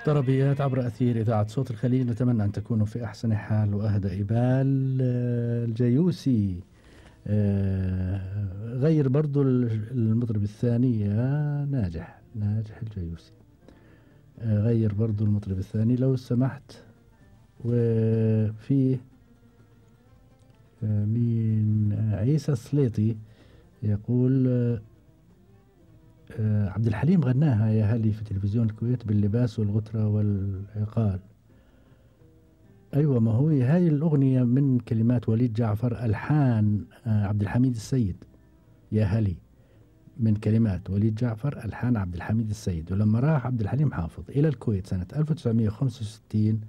طربيات عبر أثير إذاعة صوت الخليج، نتمنى أن تكونوا في أحسن حال وأهدى بال. الجيوسي غير برضو المطرب الثاني يا ناجح الجيوسي، غير برضو المطرب الثاني لو سمحت. وفي مين عيسى السليطي يقول عبد الحليم غناها يا هلي في تلفزيون الكويت باللباس والغترة والعقال. أيوة، ما هو هاي الأغنية من كلمات وليد جعفر، ألحان عبد الحميد السيد. يا هلي من كلمات وليد جعفر، ألحان عبد الحميد السيد. ولما راح عبد الحليم حافظ إلى الكويت سنة 1965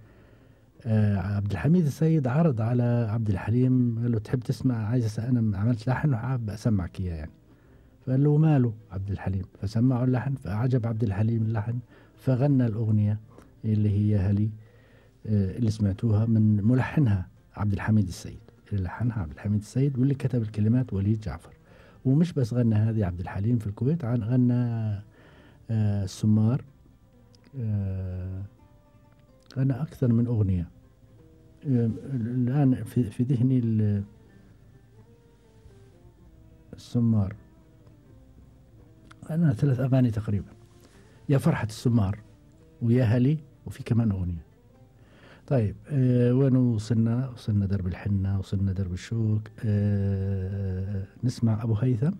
عبد الحميد السيد عرض على عبد الحليم، قال له تحب تسمع، عايز أنا عملت لحن وحاب أسمعك إياه يعني. فقال له ماله عبد الحليم، فسمعوا اللحن فأعجب عبد الحليم اللحن، فغنى الأغنية اللي هي هلي اللي سمعتوها من ملحنها عبد الحميد السيد، اللي لحنها عبد الحميد السيد واللي كتب الكلمات وليد جعفر. ومش بس غنى هذه عبد الحليم في الكويت، غنى السمار، غنى أكثر من أغنية. الآن في ذهني السمار، أنا 3 أغاني تقريبا، يا فرحة السمار ويا هلي وفي كمان أغنية. طيب وين وصلنا درب الحنة، وصلنا درب الشوك. نسمع أبو هيثم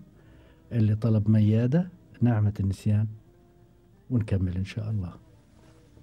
اللي طلب ميادة، نعمة النسيان، ونكمل إن شاء الله.